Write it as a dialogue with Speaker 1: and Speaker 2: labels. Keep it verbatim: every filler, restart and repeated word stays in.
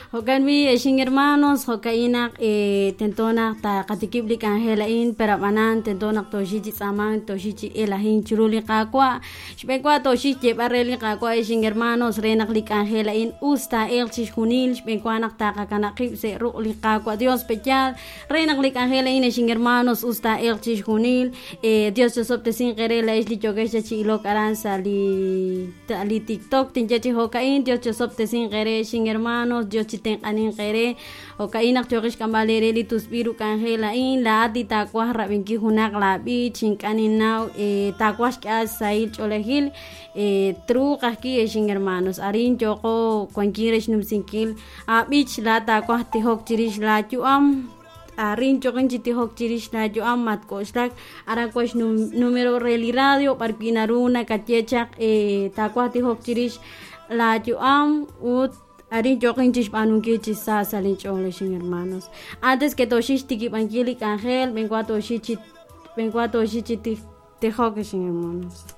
Speaker 1: Jo'kan b'i' ex inhermanos jo'ka'in naq tento naq taqatikib' li k'anjel a'in pero ab'anan tento naq tooxik chi tz'aamank tooxik chi elajink chiru li qaawa' xb'een wa tooxik xyeeb'al re li qaawa' ex inhermanos re naq li k'anjel a'in us taa'elq chixjunil xb'een wa naq taqakanab' qib' sa' ruq' li qaawa' Dios pe'yaal re naq li k'anjel a'in ex inhermanos us taa'elq chixjunil Dios chosob'tesinq eere la'ex li yookex chi ilok aran sa' li li TikTok tinye chi jo'ka'in Dios chosob'tesinq eere ex inhermanos Dios chitenq'aninq eere jo'ka'in naq yooqex xk'amb'al eere li tusb'il ru k'anjel a'in laa'at li taawaj rab'inkil junaq laab'ich ink'a' ninnaw taawaj xk'eeb'al sahil ch'oolejil truuq ajwi' ex inhermanos arin yooqo wankil re xnumsinkil aab'ich laa'at taawaj tijok chirix laayu'am arin yooqin chi tijok chirix laayu'am matk'oxlak aran wan xnumero re li radio b'arwi' naru nakaye chaq taawaj tijok chirix laayu'am ut arin yooqin chixb'aanunkil chi sa sa' linch'ool ex inhermanos antes que tooxik xtikib'ankil li k'anjel b'een wa tooxik chi b'een wa tooxik chi tijok ex inhermanos.